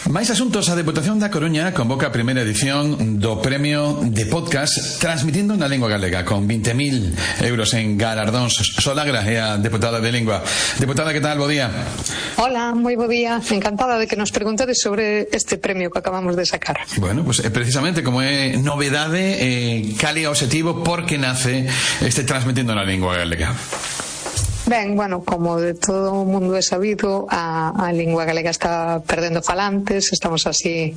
Máis asuntos. A Deputación da Coruña convoca a primeira edición do Premio de Podcast Transmitindo na Lingua Galega, con 20.000 euros en galardóns. Solagra é a deputada de Lingua. Deputada, que tal? Bo día. Hola, moi bo día. Encantada de que nos preguntades sobre este premio que acabamos de sacar. Bueno, pues precisamente como é novedade, cal é o obxectivo, por que nace este Transmitindo na Lingua Galega? Ben, bueno, como de todo o mundo é sabido, a lingua galega está perdendo falantes. Estamos así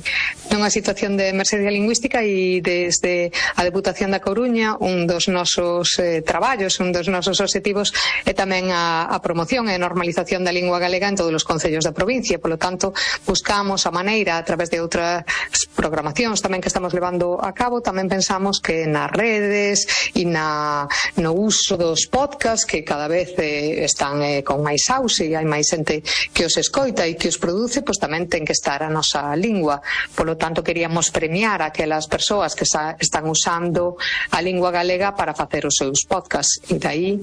nunha situación de emerxencia lingüística e desde a Deputación da Coruña un dos nosos traballos, un dos nosos obxectivos é tamén a promoción e a normalización da lingua galega en todos os concellos da provincia. Polo tanto, buscamos a maneira, a través de outras programacións tamén que estamos levando a cabo, tamén pensamos que nas redes e no uso dos podcasts, que cada vez están con máis auxe e hai máis xente que os escoita e que os produce, pois tamén ten que estar a nosa lingua. Polo tanto, queríamos premiar a aquelas persoas que están usando a lingua galega para facer os seus podcasts, e dai,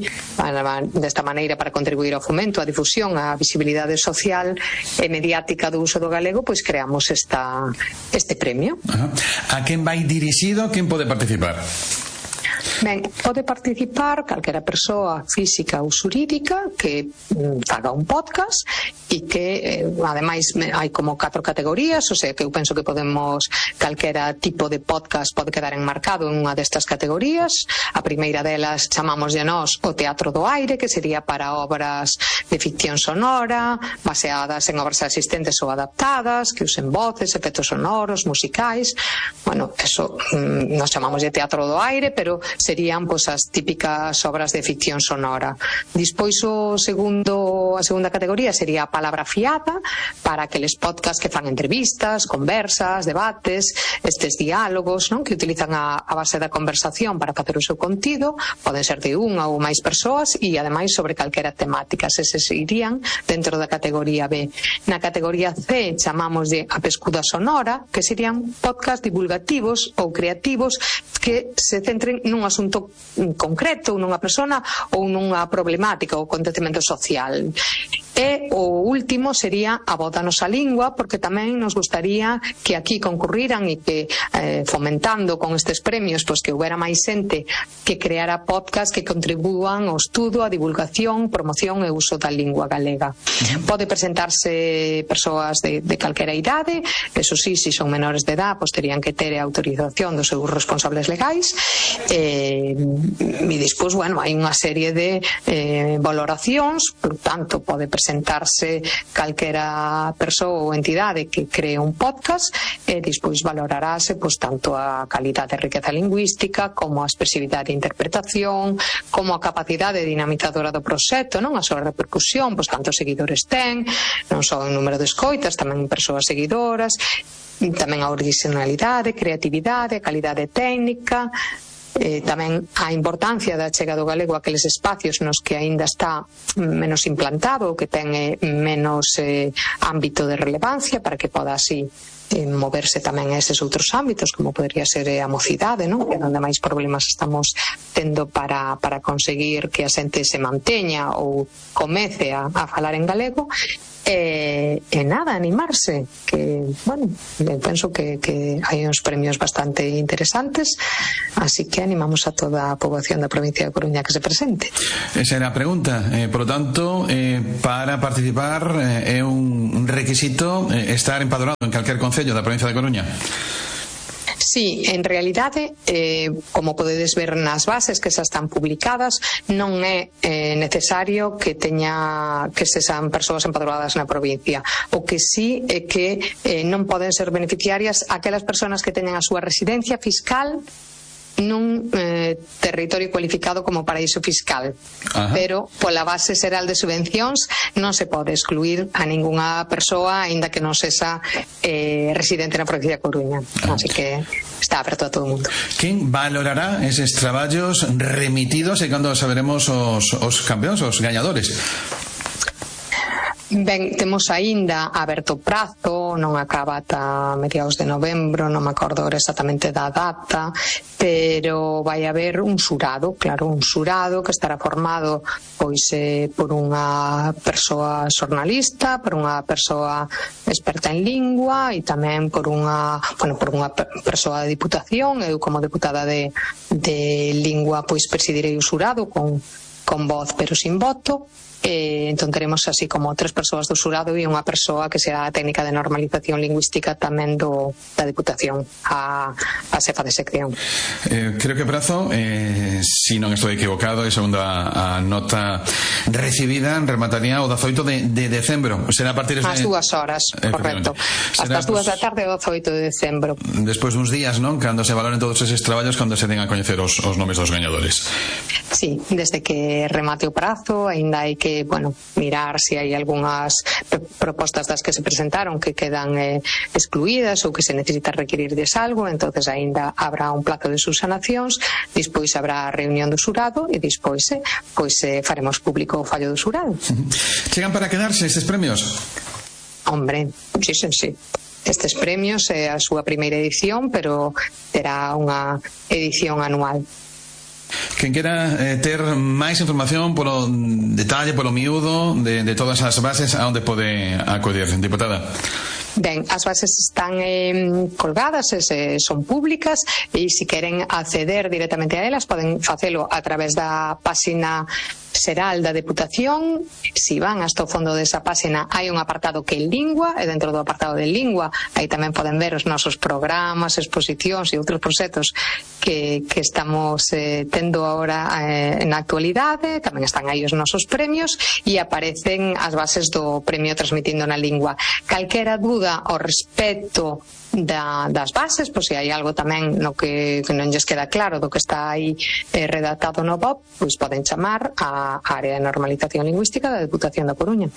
desta maneira, para contribuir ao fomento, á difusión, á visibilidade social e mediática do uso do galego, pois creamos este premio. A quen vai dirixido? Quen pode participar? Ben, pode participar calquera persoa física ou xurídica que faga un podcast e que, ademais, hai como 4 categorías, o sea que eu penso que podemos, calquera tipo de podcast pode quedar enmarcado en unha destas categorías. A primeira delas chamámoslle nós o teatro do aire, que sería para obras de ficción sonora, baseadas en obras existentes ou adaptadas, que usen voces, efectos sonoros, musicais. Bueno, eso nos chamámoslle teatro do aire, pero serían pois as típicas obras de ficción sonora. Despois a segunda categoría sería a palabra fiada, para aqueles podcasts que fan entrevistas, conversas, debates, estes diálogos, non, que utilizan a base da conversación para facer o seu contido. Poden ser de unha ou máis persoas e ademais sobre calquera temática. Eses irían dentro da categoría B. Na categoría C chamámoslle a pescuda sonora, que serían podcasts divulgativos ou creativos que se centren nun asunto concreto, nunha persona ou nunha problemática ou acontecemento social. E o último sería a voz da nosa lingua, porque tamén nos gustaría que aquí concurriran e que fomentando con estes premios pois que houbera máis xente que creara podcast que contribúan ao estudo, a divulgación, promoción e uso da lingua galega. Pode presentarse persoas de calquera idade, eso sí, se son menores de edad, pois terían que ter a autorización dos seus responsables legais. E despois, bueno, hai unha serie de valoracións, por tanto, pode presentarse calquera persoa ou entidade que cree un podcast e despois valorarase pois tanto a calidade e riqueza lingüística como a expresividade e interpretación, como a capacidade dinamizadora do proxecto, non, a súa repercusión, pois cantos seguidores ten, non só en número de escoitas, tamén persoas seguidoras, tamén a originalidade, creatividade, a calidade técnica, tamén a importancia da chega do galego a aqueles espacios nos que aínda está menos implantado ou que ten menos ámbito de relevancia, para que poda así moverse tamén a eses outros ámbitos, como podría ser a mocidade, non? Que é onde máis problemas estamos tendo para conseguir que a xente se manteña ou comece a falar en galego. E nada, animarse, que, bueno, penso que hai uns premios bastante interesantes, así que animamos a toda a poboación da provincia de Coruña que se presente. Esa era a pregunta. Por lo tanto, para participar é un requisito estar empadronado en calquer concello da provincia de Coruña. Sí, en realidade, como podedes ver nas bases que xa están publicadas, non é necesario que sexan persoas empadroadas na provincia. O que sí é que non poden ser beneficiarias aquelas persoas que teñen a súa residencia fiscal nun territorio cualificado como paraíso fiscal. Ajá. Pero pola base xeral de subvencións non se pode excluir a ningunha persoa aínda que non sexa residente na provincia de Coruña. Así que está aberto a todo o mundo. Quen valorará eses traballos remitidos e cando saberemos os campeóns, os gañadores? Ben, temos aínda aberto prazo, non acaba ata mediados de novembro, non me acordo exactamente da data, pero vai haber un xurado, claro, un xurado que estará formado pois por unha persoa xornalista, por unha persoa experta en lingua e tamén por unha persoa de Diputación. Eu como deputada de lingua pois presidirei o xurado con voz pero sin voto. Entón teremos así como 3 persoas do xurado e unha persoa que será a técnica de normalización lingüística tamén da Diputación, a xefa de sección. Creo que prazo, si non estou equivocado, e segundo a nota recibida, remataría o 18 de decembro. Será a partir de... As 2 horas, correcto. Hasta as 2 da tarde o 18 de decembro. Despois duns días, non? Cando se valoren todos eses traballos, cando se den a coñecer os nomes dos gañadores. Sí, desde que remate o prazo, aínda hai que mirar se hai algunhas propostas das que se presentaron que quedan excluídas ou que se necesita requirirles algo, entonces aínda habrá un plazo de subsanacións, despois habrá a reunión do xurado e despois faremos público o fallo do xurado. Chegan para quedarse estes premios? Hombre, sí. Estes premios é a súa primeira edición, pero terá unha edición anual. Quen quera ter máis información polo detalle, polo miúdo de todas as bases, a onde pode acudir, diputada? Ben, as bases están colgadas, son públicas, e se queren acceder directamente a elas poden facelo a través da páxina xeral da Deputación. Si van hasta o fondo desa páxina hai un apartado que é lingua, e dentro do apartado de lingua aí tamén poden ver os nosos programas, exposicións e outros proxectos que estamos tendo agora na actualidade. Tamén están aí os nosos premios e aparecen as bases do premio Transmitindo na Lingua. Calquera dúda ao respecto das bases, pois se hai algo tamén no que non lles queda claro do que está aí redactado no BOP, pois poden chamar a área de normalización lingüística da Deputación da Coruña.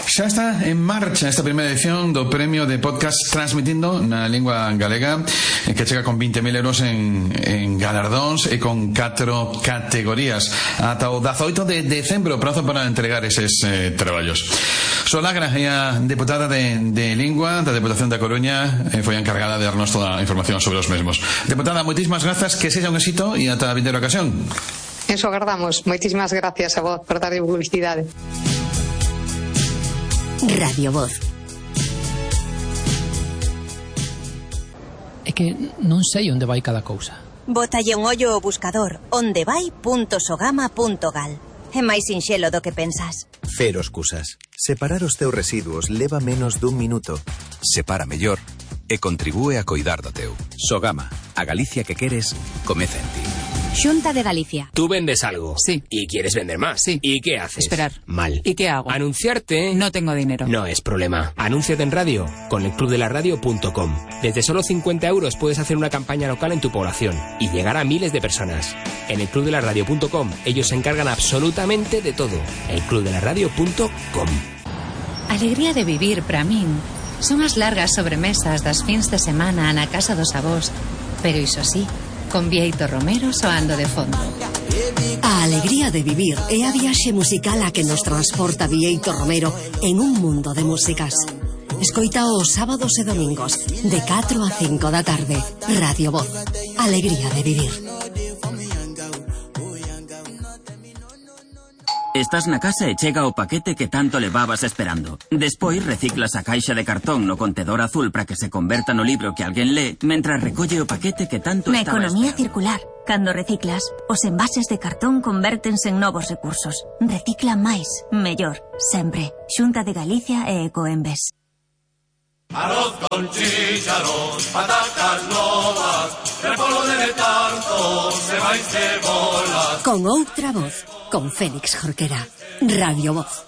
Xa está en marcha esta primeira edición do premio de podcast Transmitindo na Lingua Galega, que chega con 20.000 euros en galardóns e con 4 categorías ata o 18 de decembro, prazo para entregar eses traballos. Solagra é a deputada de Lingua da Deputación da Coruña, foi a encargada de darnos toda a información sobre os mesmos. Deputada, moitísimas grazas, que sexa un éxito e ata a vindeira ocasión. Eso agardamos. Moitísimas gracias a vos por dar publicidade. Radio Voz. É que non sei onde vai cada cousa. Bótalle un ollo ao buscador ondevai.sogama.gal. É máis sinxelo do que pensas. Cero excusas. Separar os teus residuos leva menos dun minuto. Separa mellor e contribúe a coidar do teu. Sogama, a Galicia que queres, comeza en ti. Xunta de Galicia. Tú vendes algo. Sí. ¿Y quieres vender más? Sí. ¿Y qué haces? Esperar. Mal. ¿Y qué hago? Anunciarte. No tengo dinero. No es problema. Anúnciate en radio con elclubdelaradio.com. Desde solo 50 euros puedes hacer una campaña local en tu población y llegar a miles de personas. En elclubdelaradio.com ellos se encargan absolutamente de todo. elclubdelaradio.com. Alegría de vivir para min son as largas sobremesas das fins de semana na casa dos avós, pero iso sí, con Bieito Romero soando de fondo. A alegría de vivir é a viaxe musical a que nos transporta Bieito Romero en un mundo de músicas. Escoita os sábados e domingos de 4 a 5 da tarde. Radio Voz. Alegría de vivir. Estás na casa e chega o paquete que tanto levabas esperando. Despois reciclas a caixa de cartón no contedor azul para que se converta no libro que alguén lee, mentras recolle o paquete que tanto Na estaba economía esperando. circular, cando reciclas, os envases de cartón convértense en novos recursos. Recicla máis, mellor, sempre. Xunta de Galicia e Ecoembes. Arroz con chícharos, patacas novas, repolo de tanto, se vai cebolas. Con outra voz, con Félix Jorquera. Radio Voz.